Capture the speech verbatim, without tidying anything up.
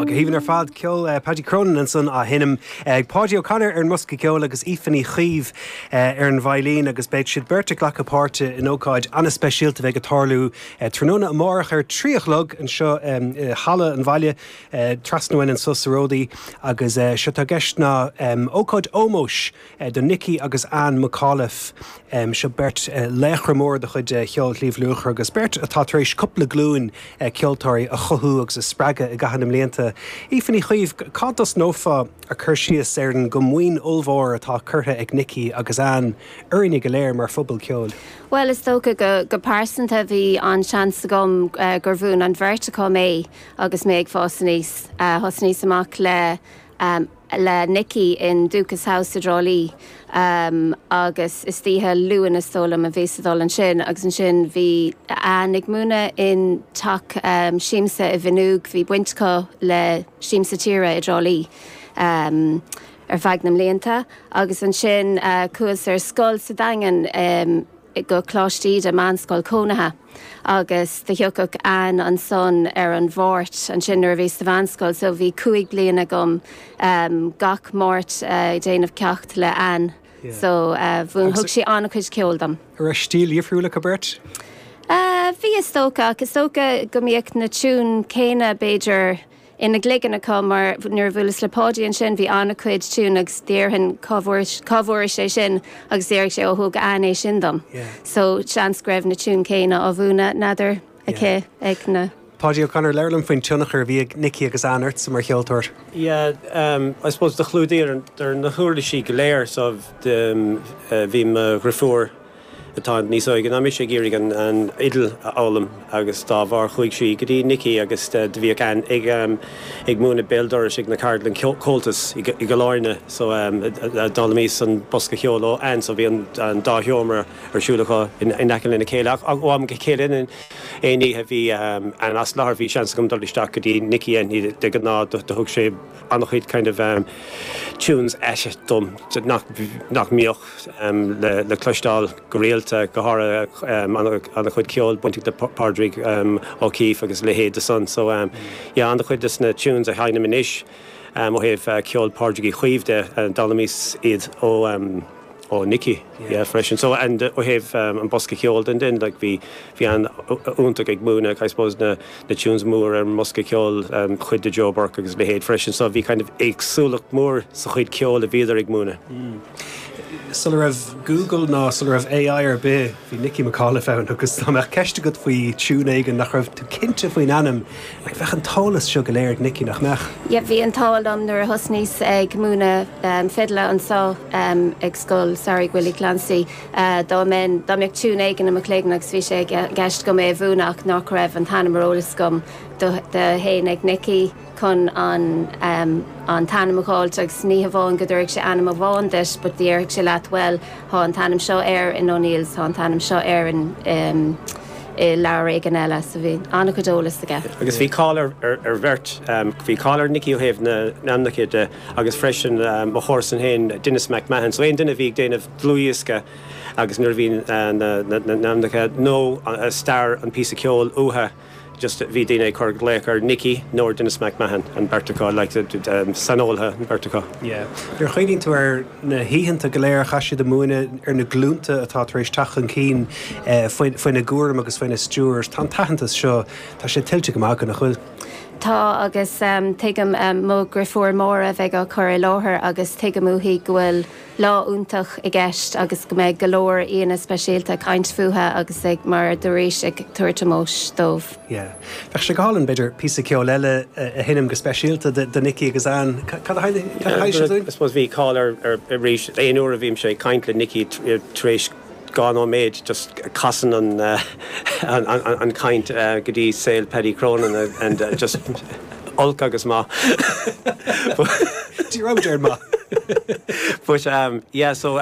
Go haoibhinn ar fad ceol uh, Paddy Cronin ansan á sheinm ag Paudie O'Connor ar an mbosca ceoil agus Aoife Ní Chaoimh uh, ar an veidhlín agus beidh siad beirt ag glacadh páirte in ócáid an-speisialta bheidh ag tarlú uh, tráthnóna amárach ar trí a chlog anseo um, uh, halla an bhaile uh, trasna uainn anseo sa Ródaí agus uh, seo tá gceist ná um, ócáid ómóis uh, do Nicky agus Anne McAuliffe um, seo beirt uh, laochra mór de chuid uh, cheol Shliabh Luachra agus beirt atá tar éis cúpla glúin uh, ceoltóirí a chothú agus a spreagadh i gcaitheamh na mblianta. Aoife Ní Chaoimh cá dtosnófá ag cur síos ar an gcomaoin ollmhór atá curtha ag Nicky agus Anne orainne go léir mar phobal ceoil. Well is dócha go, go pearsanta bhí an seans agam uh, gur mhúin an bheirt acu mé agus mé ag fás aníos uh, thosnaíos amach le um, le Nicky in Dúchas House i dTrá Lí um, agus istoíche Luain is dóigh liom a bhí dul ansin agus ansin bhí Anne ag múineadh in teach um, siamsa i bhNúg bhí baint aici le Siamsa Tíre i dTrá Lí. Um, ar feadh na mblianta agus ansin uh, chuas ar scoil sa Daingean um, go Coláiste Íde meánscoil cónaithe. agus do thiocfadh Anne ansan ar an Mháirt ansin nuair a bhí sa mheánscoil, so bhí cúig bliana agam um, gach Máirt uh, déanamh ceacht le Anne. Yeah. So uh, mhúin thug sí an-chuid ceoil dom. Ar stíl difriúil acu beirt? Uh, bhí is dócha is dócha go mbíodh na tiúin céanna b'fhéidir ina gcloigeann acu mar nuair a bhuaileas le Paudie ansin bhí an-chuid tiún agus déarfainn cá bhfuair sé sin agus déarfadh sé ó thug Anne é sin dom. Yeah. So seans go raibh na tiúin céanna á mhúineadh n'fheadar aici ag na. Paudie O'Connor labhair liom faoin tionchar a bhí ag Nicky agus Anne ort mar cheoltóir. Yeah, um, I suppose do chlúdaigh ar na huirlisí go léir so um, uh, bhí mo dheirfiúr atá níos óige ná mise ag iarraidh an, an fhidil a fhoghlaim agus dá bharr chuaigh sí go dtí Nicky agus do bhíodh Anne ag um, ag múineadh béal dorais ag na ceardlann Comhaltas i gCill Airne so um, d'fhoghlaimíos an bosca ceoil ó Anne so bhí an, an dá sheomra ar siúl acu in, in aice lena chéile ach ó am go chéile in aon oíche bhí um, an as láthair bhí seans agam dul isteach go dtí Nicky an de ghnáth do thug sé an-chuid kind of um, tunes eise dom nach, nach mbíodh um, le, le cloisteáil go rialta go háirithe um, an-chuid ceol bainteach le Pádraig um, O'Keeffe agus leithéid de san so um, yeah, an-chuid des na tunes a sheinnim anois um, ó thaobh uh, ceol Pádraig Uí Chaoimh de uh, d'fhoghlaimíos iad ó um, ó Nicky yeah. yeah, freisin so and uh, ó thaobh um, an bosca ceoil den den like bhí bhí Anne iontach ag múineadh I suppose na na tunes mór ar an mbosca ceoil um, chuid de Joe Burke agus leithéid freisin so bhí kind of éagsúlacht mór sa chuid ceoil a bhíodar ag múineadh. Mm. Sula raibh Google ná sula raibh AI ar bith bhí Nicky McAuliffe ann agus dá mbeadh ceist agat faoi tune éigin nach raibh tú cinnte faoin ainm, like bheadh an t-eolas seo go léir ag Nicky nach mbeadh. Ja bhí an t-ádh liom nuair a thosnaíos ag múineadh um, fidle anseo um, ag scoil samhraidh Willie Clancy uh, dá men dá mbeadh tune éigin i mo chloigeann agus bhí sé i gceist agam é a mhúineadh ach nach raibh an t-ainm ar eolas agam do théinn ag Nicky chun an um, an t-ainm a fháilt agus ní hamháin go dtabharfadh sé ainm amháin duit, but déarfadh sé leat well tá an t-ainm seo air in O'Neill's tá an t-ainm seo air in um, i leabhar éigin eile so bhí an-chuid eolas aige. Agus bhí cáil ar, ar, ar bheirt um, bhí cáil ar Nicky ó thaobh na n-ainmneacha de agus freisin um, mo chomharsan féin Denis McMahon, so aon duine bhí ag déanamh dlúthdhiosca agus nuair bhí uh, na n-ainmneacha nó uh, stair an píosa ceoil uathu just bhí daoine ag cur glaoch ar Nicky nó Denis McMahon an bheirt acu like, um, saineolaithe an bheirt acu. Yeah. Nuair a chuimhníonn tú ar na hoícheanta go léir a chaith siad ag múineadh ar na glúnta atá tar éis teacht chun cinn eh, faoina gcúram agus faoina stiúir, Tá an t-aitheantas seo tá sé tuillte go maith nach bhfuil. Tá agus um, tuigim um, mo dheirfiúr Máire a bheidh á cur i láthair agus tuigim uaithi go bhfuil lá iontach i gceist agus go mbeidh go leor aíonna speisialta ag caint fúthu agus ag mar dúirt ag tabhairt ómóis dóibh. Yeah. Bheadh sé go hálainn b'fhéidir píosa ceoil eile a sheinm go speisialta do Nicky agus Anne Cad a I suppose bhí cáil ar arís aon uair a bhímse ag caint le Nicky tar éis dhá nóiméad just casann an, uh, an, an, an caint uh, go dtí saol Paddy Cronin and uh, just olc agus maith. Dí ar maith. But um, yeah, so